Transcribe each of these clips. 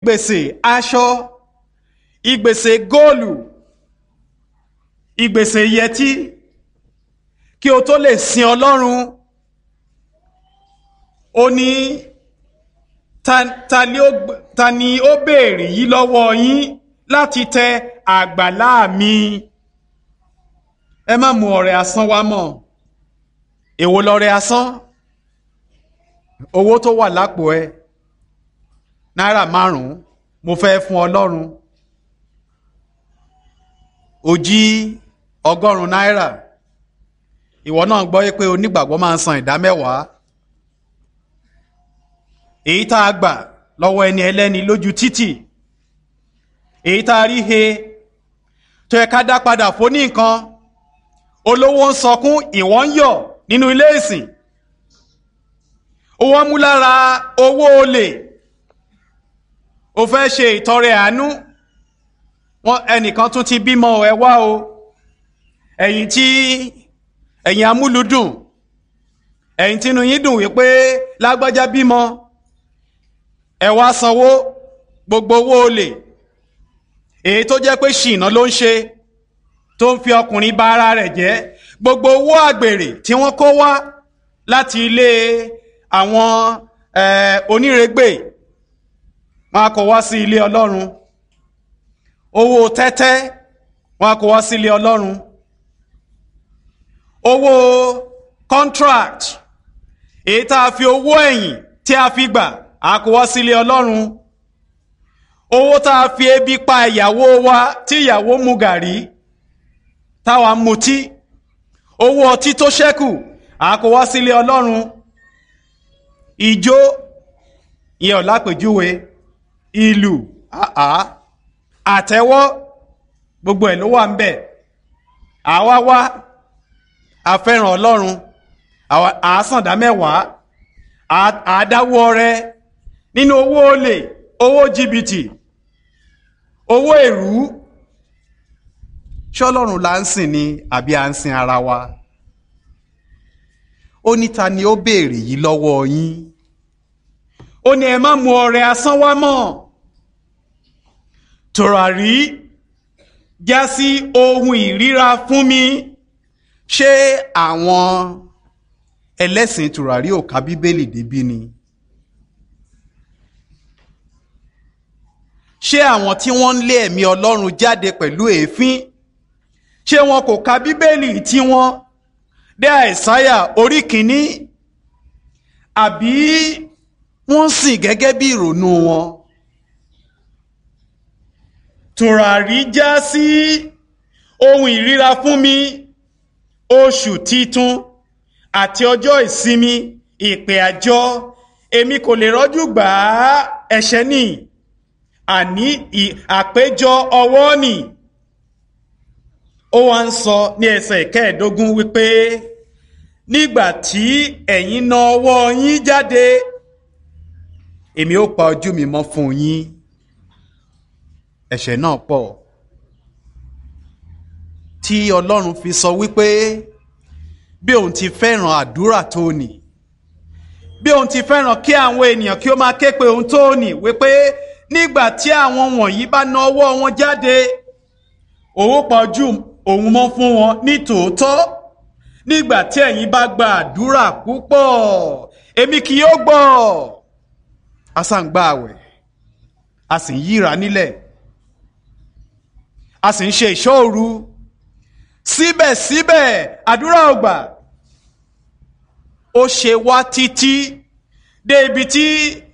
Ìgbèsè aṣọ, ìgbèsè góòlù, ìgbèsè yẹtí, kí o tó lè sin Ọlọ́run. Ó ní ta ni ó béèrè yìí lọ́wọ́ yín láti tẹ àgbàlá mi? Ẹ má mú ọrẹ asán wá mọ́. Èwo lọrẹ asán? Owó tó wà lápò ẹ, náírà 5 mo fẹ́ fún Ọlọ́run. Ó jí 100 náírà. Ìwọ náà gbọ́ pé onígbàgbọ́ máa ń san 10%. Èyí tá a gbà lọ́wọ́ ẹni ẹlẹ́ni lójú títì, èyí tá a rí he tó yẹ ká dá padà fún ní nǹkan. Olówó ń sọkún, ìwọ ń yọ̀ nínú ilé ìsìn. Owó mú lára owó olè, ó fẹ́ ṣe ìtọrẹ àánú. Wọn ẹnìkan tún ti bímọ, ẹ wá o, ẹ̀yin tí ẹ̀yin amúlùdùn, ẹ̀yin tínú yín dùn wípé lágbájá bímọ, ẹ wá sanwó gbogbo owó olè. Èyí tó jẹ́ pé ṣìnà ló ń ṣe, tó ń fi ọkùnrin bà ara rẹ̀ jẹ́, gbogbo owó àgbèrè tí wọ́n kó wá láti ilé àwọn onírègbè, wọn a kó wá sí ilé Ọlọ́run. Owó tẹ́tẹ́, wọn a kó wá sí ilé Ọlọ́run. Owó contract, èyí tá a fi owó ẹ̀yìn tí a fi gbà, a kó wá sí ilé Ọlọ́run. Owó tá a fi ebi pa ìyàwó wa, tí ìyàwó mu gàrí táwa mutí, owó ọtí tó ṣẹ́kù, a kó wá sílé Ọlọ́run. Ìjó ìyẹn ọ̀làpèjúwe, ìlù àá àtẹ́wọ́, gbogbo ẹ̀ ló wà ń bẹ̀. Àwa wá àfẹ́ràn Ọlọ́run, àásàndá 10, àádáwó ọrẹ nínú owó olè, owó jìbìtì, owó èrú. Ṣọlọ́run là ń sìn ni àbí à ń sin ara wa? Ó ní ta ni ó béèrè yìí lọ́wọ́ yín? Ó ní ẹ má mú ọrẹ asán wá mọ́. Tùràrí já sí ohun ìríra fún mi. Ṣé àwọn ẹlẹ́sìn tùràrí ò ka Bíbélì débí ni? Ṣé àwọn tí wọ́n ń lé ẹ̀mí Ọlọ́run jáde pẹ̀lú èéfín, ṣé wọn kò ka Bíbélì tí wọ́n dé Àìsáyà orí 1? Àbí wọ́n sìn gẹ́gẹ́ bí ìrònú wọn? Tùràrí já sí ohun ìríra fún mi, oṣù titun àti ọjọ́ ìsinmi, ìpè àjọ, èmi kò lè rọ́jú gbà á. Ẹ̀ṣẹ̀ ni, àní àpéjọ ọwọ́ nì. Ó wá ń sọ ní ẹsẹ̀ 15 wípé nígbà tí ẹ̀yin na ọwọ́ yín jáde, èmi ó pa ojú mi mọ́ fún yín. Ẹ̀ṣẹ̀ náà pọ̀ tí Ọlọ́run fi sọ wípé bí òun ti fẹ́ràn àdúrà tó nì, bí òun ti fẹ́ràn kí àwọn ènìyàn kí ó máa ké pe òun tó nì, wípé nígbà tí àwọn wọ̀nyí bá na ọwọ́ wọn jáde, òun pa ojú òun mọ́ fún wọn ní tòótọ́. Nígbà tí ẹ̀yin bá gba àdúrà púpọ̀, èmi kì yóò gbọ́. A sá ń gba àwẹ̀, a sì ń yíra nílẹ̀, a sì ń ṣe ìṣọ́ òru, síbẹ̀síbẹ̀ àdúrà ò gbà. Ó ṣe wá títí dé ibi tí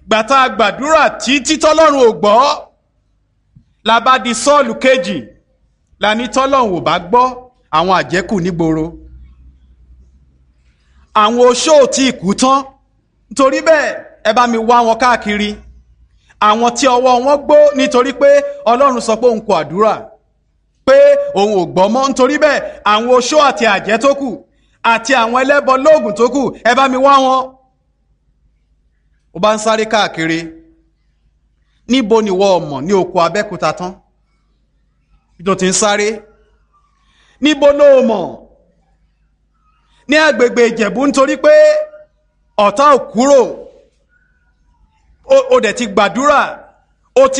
gbàtà gbàdúrà títí tọ́lọ́run ò gbọ́, la bá di Sọ́ọ̀lù kejì, la ní tọ́lọ́run ò bá gbọ́, àwọn àjẹ́kù nígboro, àwọn oṣó ò tí ì kú tán, nítorí bẹ́ẹ̀ ẹ bá mi wá wọn káàkiri, àwọn tí ọwọ́ wọn gbó, nítorí pé Ọlọ́run sọ pé òun kò àdúrà, pé òun ò gbọ́ mọ́, nítorí bẹ́ẹ̀ àwọn oṣó àti àjẹ́ tó kù àti àwọn ẹlẹ́bọ lóògùn tó kù, ẹ bá mi wá wọn. Ó bá ń sáré káàkiri, níbo ni ìwọ ọmọ ní oko Abẹ́òkúta tán tó ti ń sáré? Níbo ló mọ̀ ní agbègbè Ìjẹ̀bú? Nítorí pé ọ̀tá ò kúrò, ó dẹ̀ ti gbàdúrà.